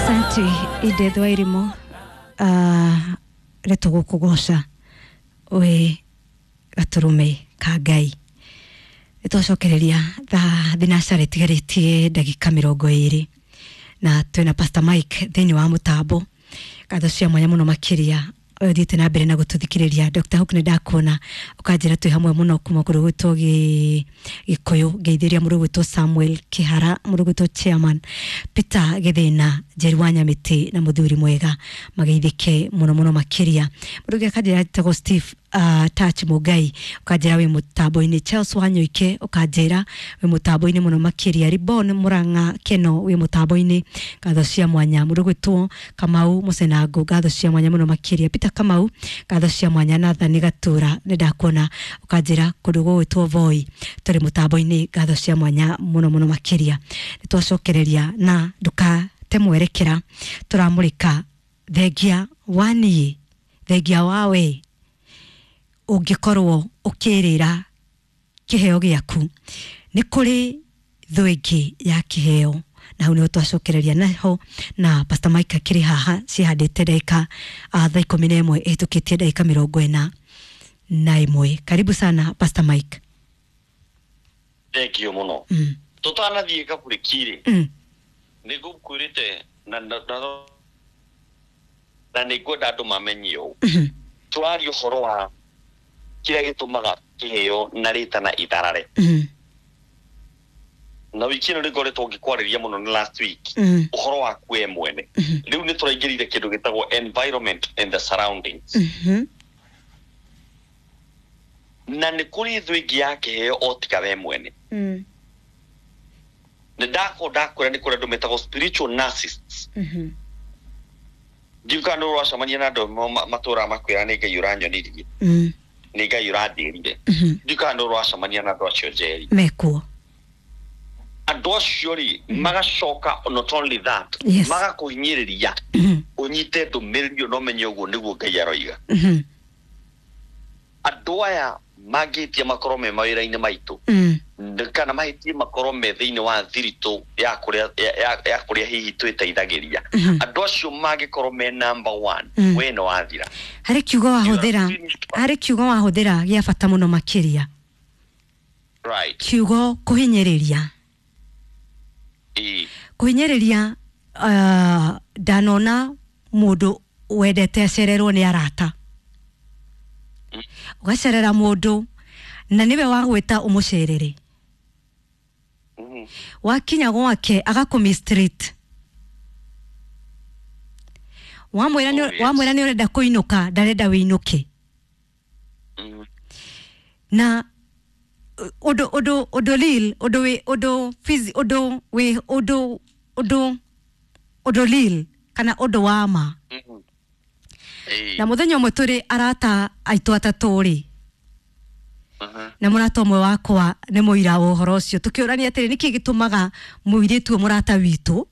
Asante Edith Wairimu, nĩtũgũkũgoca wĩ gatũrũme ka Ngai. Nĩtwacokereria thaa thinacara ĩtigarĩtie ndagĩka 20 na twĩna Pastor Mike thĩinĩ wa mũtambo. Ngatho cia mwanya mũno makĩria ũthiĩte na mbere na gũtũthikĩrĩria. Dr. Hook nĩ ndakuona ũkanjĩra twĩ hamwe mũno kuma kũrĩ gwĩtwo Gĩkũyũ, ngeithĩria mũndũ gwĩtwo Samuel Kĩhara, mũndũ gwĩtwo Chairman Peter Gĩthĩna, Njeri wa Nyamĩtĩ na mũthuri mwega, mageithĩke mũno mũno makĩria. Mũndũ ũngĩ akanjĩra etagwo Steve Touch Mũngai, ũkanjĩra wĩ mũtambo-inĩ. Charles Wanyoike ũkanjĩra wĩ mũtambo-inĩ mũno makĩria. Ribon Mũrang'a Keno wĩ mũtambo-inĩ, ngatho cia mwanya. Mũndũ gwĩtwo Kamau Mũcenango, ngatho cia mwanya mũno makĩria. Peter Kamau, ngatho cia mwanya. Nathan Gatura nĩ ndakuona ũkanjĩra kũndũ gũgwĩtwo Voi tũrĩ mũtambo-inĩ, ngatho cia mwanya mũno mũno makĩria. Nĩ twacokereria na ndũkate mwerekera, tũramũrĩka thengia wa niĩ, thengia wa we ũngĩkorwo ũkĩrĩra kĩheo gĩaku, nĩ kũrĩ thũ ĩngĩ ya kĩheo, na hau nĩho twacokereria naho na Pastor Mike akĩrĩ haha cihandĩte ndagĩka thaa 11 ĩhĩtũkĩtie ndagĩka 41. Karibu sana Pastor Mike. Thank you mũno. Tũtanathiĩ kabũrĩki-rĩ, nĩ ngũkwĩrĩte na nĩ ngwenda andũ mamenye ũũ. Tũraria ũhoro wa kĩrĩa gĩtũmaga kĩheo na rĩtana itharare. Na wiki ĩno nĩ ngoretwo ngĩkwarĩria mũno nĩ last week ũhoro waku we mwene. Rĩu nĩ tũraingĩrire kĩndũ gĩtagwo environment and the surroundings. Na nĩ kũrĩ thũ ĩngĩ ya kĩheo o tiga we mwene. Nĩ ndakorwo ndakwĩra nĩ kũrĩ andũ metagwo spiritual narcissists. Ndiũ kana nĩ ũracemania na andũ matũraga makwĩra nĩ Ngai ũranyonirie, nĩ Ngai ũrandĩrire. Ndiũ kana nĩ ũracemania na andũ acio njeri. Mekuo. Andũ acio rĩ, magacoka not only that, magakũhinyĩrĩria ũnyite ndũmĩrĩri ĩyo na ũmenye ũguo nĩguo Ngai aroiga. Andũ aya mangĩhĩtia makorwo me mawĩra-inĩ maitũ, kana mahĩtie makorwo me thĩinĩ wa thiritũ ya kũrĩa ya kũrĩa hihi twĩteithagĩria, andũ acio mangĩkorwo me number one, we nĩ wathira. Harĩ kiugo wahũthĩra, harĩ kiugo wahũthĩra gĩa bata mũno makĩria. Kiugo kũhinyĩrĩria. Kũhinyĩrĩria, ndanona mũndũ wendete acererwo nĩ arata, ũgacerera mũndũ na nĩwe wagwĩta ũmũcerere, wakinya gwake agakũ mistreat, wamwĩra wamwĩra nĩ ũrenda kũinũka, ndarenda wĩinũke. Na ũndũ ũndũ ũndũ real, ũndũ wĩ ũndũ ũndũ wĩ ũndũ ũndũ ũndũ real kana ũndũ wa ma. Na mũthenya ũmwe tũrĩ arata aitũ atatũ rĩ, na mũrata ũmwe wakwa nĩ mũira wa ũhoro ũcio, tũkĩũrania atĩrĩ, nĩkĩ gĩtũmaga mũirĩtu ũyũ mũrata witũ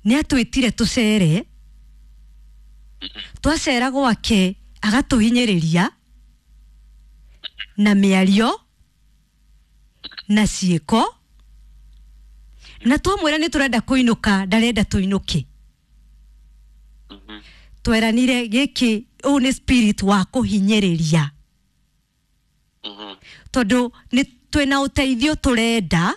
nĩ atwĩtire tũcere, twacera gwake agatũhinyĩrĩria na mĩario na ciĩko, na twamwĩra nĩ tũrenda kũinũka ndarenda tũinũke. Tweranire gĩkĩ, ũũ nĩ spirit wa kũhinyĩrĩria, tondũ nĩ twĩna ũteithio tũrenda,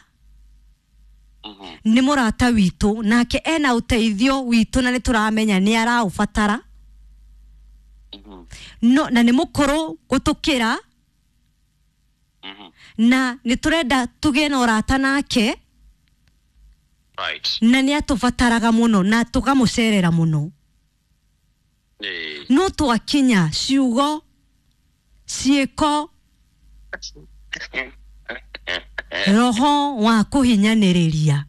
nĩ mũrata witũ nake ena ũteithio witũ na nĩ tũramenya nĩ araũbatara, no na nĩ mũkũrũ gũtũkĩra, na nĩ tũrenda tũgĩe na ũrata nake, na nĩ atũbataraga mũno na tũkamũcerera mũno. No twakinya ciugo ciĩko roho wa kũhinyanĩrĩria.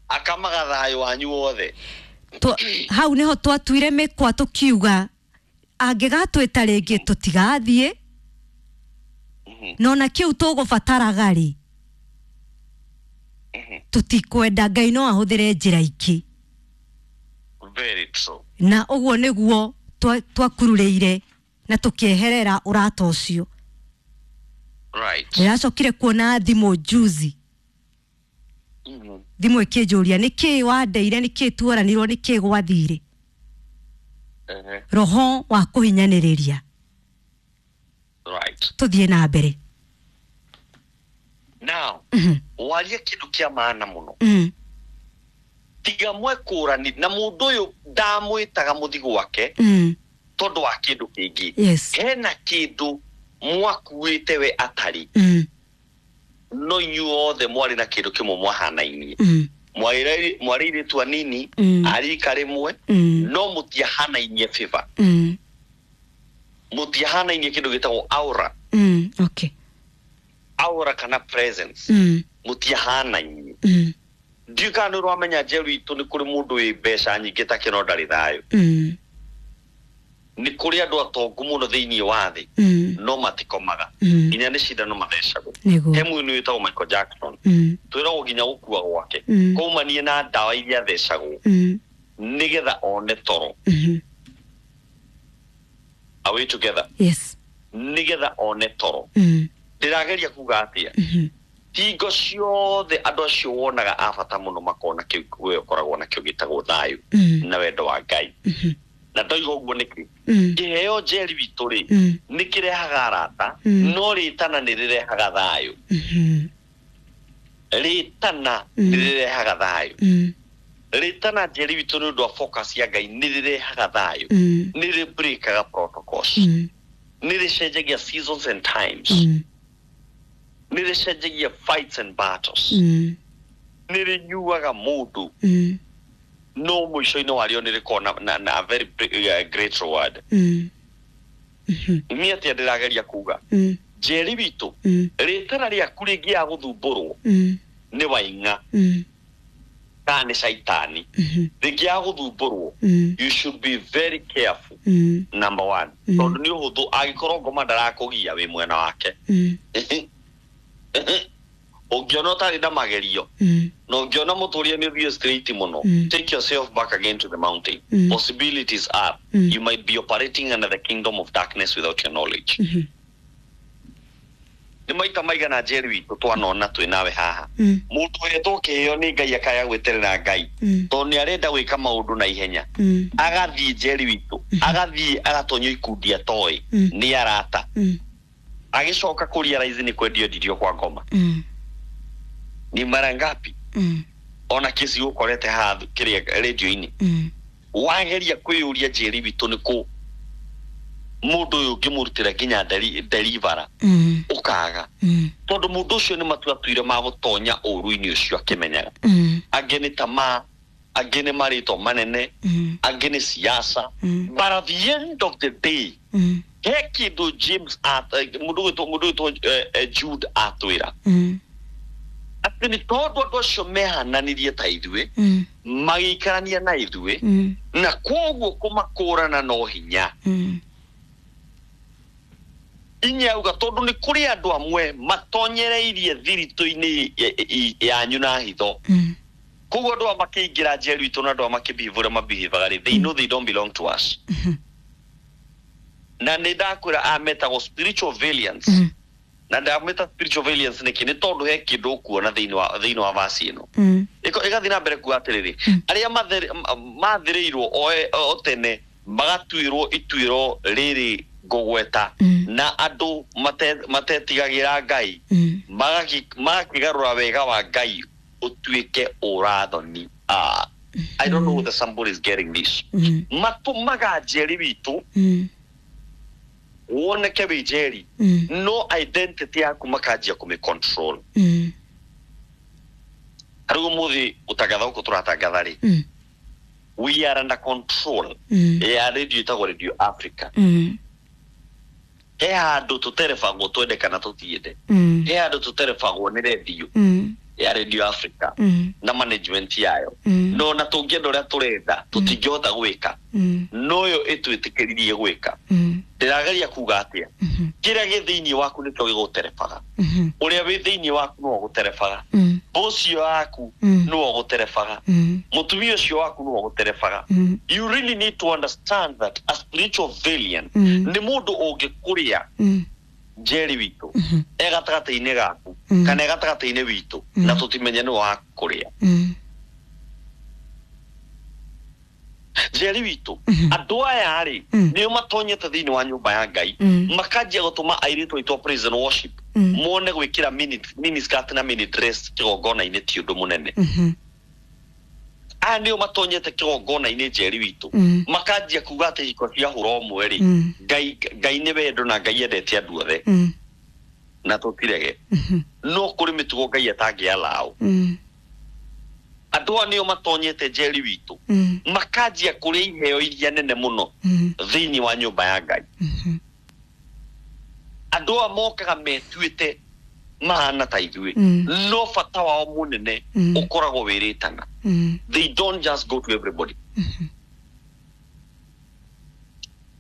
Akamaga thayũ wanyu wothe. Hau nĩho twatuire mĩkwa tũkiuga angĩgatwĩta rĩngĩ tũtigathiĩ, na ona kĩu tũgũbataraga rĩ, tũtikwenda. Ngai no ahũthĩre njĩra ingĩ. Very true. Na ũguo nĩguo twakururĩire na tũkĩeherera ũrata ũcio. Ndĩracokire kuona thimũ juzi. Thimũ ĩkĩnjũria nĩkĩ wandeire, nĩkĩ tuoranirwo, nĩkĩ gwathire. Roho wa kũhinyanĩrĩria. Right. Tũthiĩ na mbere. Now, waria kĩndũ kĩa maana mũno. Tiga mwekũrani na mũndũ ũyũ ndamwĩtaga mũthi gwake tondũ wa kĩndũ kĩngĩ. Yes. Hena kĩndũ mwakuĩte we atarĩ. No inyuothe mwarĩ na kĩndũ kĩmwe mwahanainie. Mwarĩ airĩtu anini, a rika rĩmwe, no mũtiahanainie favor. Mũtiahanainie kĩndũ gĩtagwo aura. Okay. Aura kana presence. Mũtiahanainie. Ndiũĩ kana nĩ ũramenya Njeru itũ nĩ kũrĩ mũndũ wĩ mbeca nyingĩ ta kĩno ndarĩ thayũ. Nĩ kũrĩ andũ atongu mũno thĩinĩ wa thĩ, no matikomaga. Nginya nĩ cindano mathecagwo. He mũini wĩtagwo Michael Jackson. Twĩragwo nginya gũkua gwake. Kwaumanie na ndawa iria athecagwo. Nĩgetha one toro. Are we together? Yes. Nĩgetha one toro. Ndĩrageria kuga atĩa? Hingo ciothe andũ acio wonaga a bata mũno makona kĩu we ũkoragwo nakĩo gĩtagwo thayũ na wendo wa Ngai. Na ndoiga ũguo nĩkĩ? Kĩheo Njeri witũ rĩ, nĩ kĩrehaga arata, no rĩtana nĩ rĩrehaga thayũ. Rĩtana nĩ rĩrehaga thayũ. Rĩtana Njeri witũ nĩ ũndũ wa focus ya Ngai nĩ rĩrehaga thayũ. Nĩ rĩ-breakaga protocols. Nĩ rĩcenjagia seasons and times. Nĩ rĩcenjagia fights and battles. Nĩ rĩnyuaga mũndũ. No mũico-inĩ warĩo nĩ rĩkoragwo na a very great reward. Niĩ atĩa ndĩrageria kuga? Njeri witũ, rĩtana rĩaku rĩngĩaga gũthumbũrwo nĩ waing'a kana nĩ caitani, rĩngĩaga gũthumbũrwo, you should be very careful. Number one, tondũ nĩ ũhũthũ angĩkorwo ngoma ndarakũgia wĩ mwena wake. Ũngĩona ũtarĩ na magerio, na ũngĩona mũtũrĩre nĩ ũthiĩ straight mũno, take yourself back again to the mountain. Possibilities are you might be operating under the kingdom of darkness without your knowledge. Nĩ maita maigana Njeri witũ twanona twĩ nawe haha, mũndũ ũhetwo kĩheo nĩ Ngai akaya gwĩterera Ngai tondũ nĩ arenda gwĩka maũndũ na ihenya, agathiĩ Njeri witũ, agathiĩ agatonyio ikundi atoĩ nĩ arata, agĩcoka kũrealize nĩ kwendio endirio kwa ngoma. Ni mara ngapi ona kesi ũkorete haha kĩrĩa radio-inĩ, wageria kwĩyũria Njeri witũ nĩ kũ mũndũ ũyũ ũngĩmũrutĩra nginya deliverer ũkaga, tondũ mũndũ ũcio nĩ matua atuire ma gũtonya ũru-inĩ ũcio akĩmenyaga. Angĩ nĩ tamaa, angĩ nĩ marĩtwa manene, angĩ nĩ siasa, but at the end of the day, he kĩndũ James mũndũ gwĩtwo Jude atwĩra atĩ nĩ tondũ andũ acio mehananirie ta ithuĩ, magĩikarania na ithuĩ, na koguo kũmakũrana no hinya. Inya auga tondũ nĩ kũrĩ andũ amwe matonyereirie thiritũ-inĩ yanyu na hitho. Koguo andũ aya makĩingĩra Njeri witũ na andũ aya makĩbehave ũrĩa mabehavaga rĩ, they know they don't belong to us. Na nĩ ndakwĩra aya metagwo spiritual variants. Na ndamĩta spiritual variants nĩkĩ? Nĩ tondũ he kĩndũ ũkuona thĩinĩ wa verse ĩno. Ĩgathiĩ na mbere kuga atĩrĩrĩ, arĩa mathĩrĩirwo o tene magatuĩrwo ituĩro rĩrĩ ngũgweta, na andũ matetigagĩra Ngai, magakĩgarũra wega wa Ngai ũtuĩke ũrathoni. I don't know whether somebody is getting this. Matũmaga Njeri witũ woneke wĩ Njeri, no identity yaku makanjia kũmĩ control. Rĩu ũmũthĩ gũtangatha gũkũ tũratangatha rĩ, we are under control ya radio ĩtagwo Radio Africa. He handũ tũterebagwo twende kana tũtiende, he handũ tũterebagwo nĩ radio ya Radio Africa na management yayo, no na tũngĩenda ũrĩa tũrenda tũtingĩhota gwĩka, no yo ĩtwĩtĩkĩririe gwĩka. Ndĩrageria kuga atĩa? Kĩrĩa gĩ thĩinĩ waku nĩkĩo gĩgũterebaga. Ũrĩa wĩ thĩinĩ waku nĩwe ũgũterebaga. Ũcio waku nĩwe ũgũterebaga. Mũtumia ũcio waku nĩwe ũgũterebaga. You really need to understand that a spiritual variant nĩ mũndũ ũngĩkũrĩa Njeri witũ e gatagatĩ-inĩ gaku kana e gatagatĩ-inĩ witũ na tũtimenye nĩ wa kũrĩa. Njeri witũ, andũ aya rĩ nĩo matonyete thĩinĩ wa nyũmba ya Ngai, makanjia gũtũma airĩtu aitũ a praise and worship mone gwĩkĩra mini skirt na mini dress kĩgongona-inĩ ti ũndũ mũnene. Aya nĩo matonyete kĩgongona-inĩ, Njeri witũ, makanjia kuga atĩ hiko cia hũra ũmwe rĩ, Ngai nĩ wendo na Ngai endete andũ othe na tũtirege, no kũrĩ mĩtugo Ngai atangĩalaũ. Andũ aya nĩo matonyete, Njeri witũ, makanjia kũrĩa iheo iria nene mũno thĩinĩ wa nyũmba ya Ngai. Andũ aya mokaga metuĩte mahana ta ithuĩ, no bata wao mũnene ũkoragwo wĩrĩtana. They don't just go to everybody.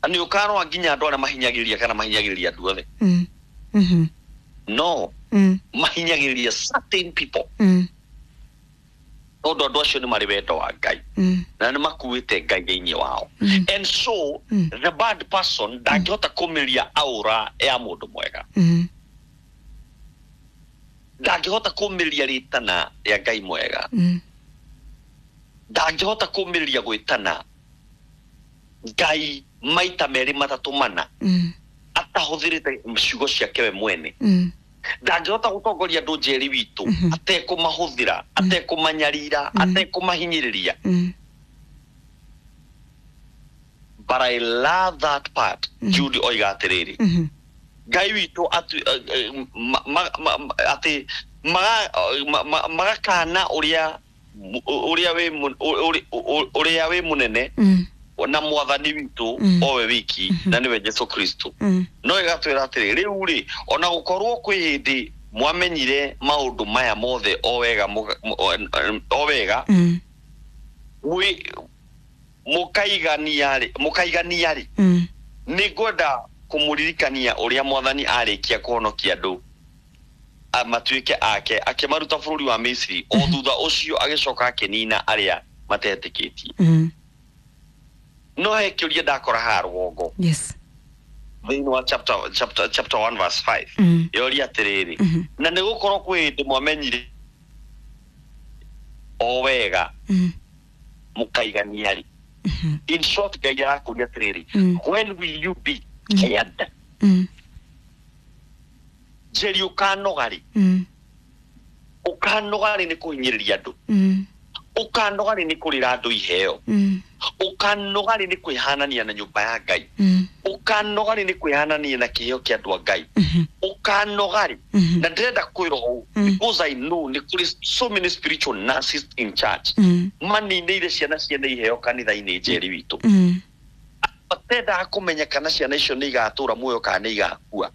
Nĩ ũkarora nginya andũ arĩa mahinyagĩrĩria kana mahinyagĩrĩria andũ othe, no mahinyagĩrĩria certain people, tondũ andũ acio nĩ marĩ wendo wa Ngai na nĩ makuĩte Ngai thĩinĩ wao. And so the bad person ndangĩhota kũmĩria aura ya mũndũ mwega, ndangĩhota kũmĩria rĩtana rĩa Ngai mwega, ndangĩhota kũmĩrĩria gwĩtana Ngai maita merĩ matatũ mana atahũthĩrĩte ciugo ciake we mwene. Ndangĩhota gũtongoria andũ, Njeri witũ, atekũmahũthĩra, atekũmanyarira, atekũmahinyĩrĩria. But I love that part. Jude oiga atĩrĩrĩ, Ngai witũ atĩ magakana ũrĩa wĩ mũnene na mwathani witũ owe wiki, na nĩwe Jesu Kristo. No ĩgatwĩra atĩrĩ, rĩu rĩ, ona gũkorwo kwĩ hĩndĩ mwamenyire maũndũ maya mothe o wega o wega, mũkaigania rĩ, nĩ ngwenda kũmũririkania ũrĩa mwathani arĩkia kũhonokia andũ matuĩke ake, akĩmaruta bũrũri wa Misiri, o thutha ũcio agĩcoka akĩnina arĩa matetĩkĩtie. No he kĩũria ndakora haha rũgongo thĩinĩ wa chapter 1 verse 5. Yoria atĩrĩrĩ, na nĩ gũkorwo kwĩ hĩndĩ mwamenyire o wega, mũkaigania rĩ. In short, Ngai arakũria atĩrĩrĩ, when will you be scared? Njeri, ũkanoga rĩ? Ũkanoga rĩ nĩ kũhinyĩrĩria andũ? Ũkanoga rĩ nĩ kũrĩra andũ iheo? Ũkanoga rĩ nĩ kwĩhanania na nyũmba ya Ngai? Ũkanoga rĩ nĩ kwĩhanania na kĩheo kĩa andũ a Ngai? Ũkanoga rĩ? Na ndĩrenda kwĩra ũũ because I know nĩ kũrĩ so many spiritual nurses in church maninĩire ciana ciene iheo kanitha-inĩ, Njeri witũ, matendaga kũmenya kana ciana icio nĩ igatũra muoyo kana nĩ igakua.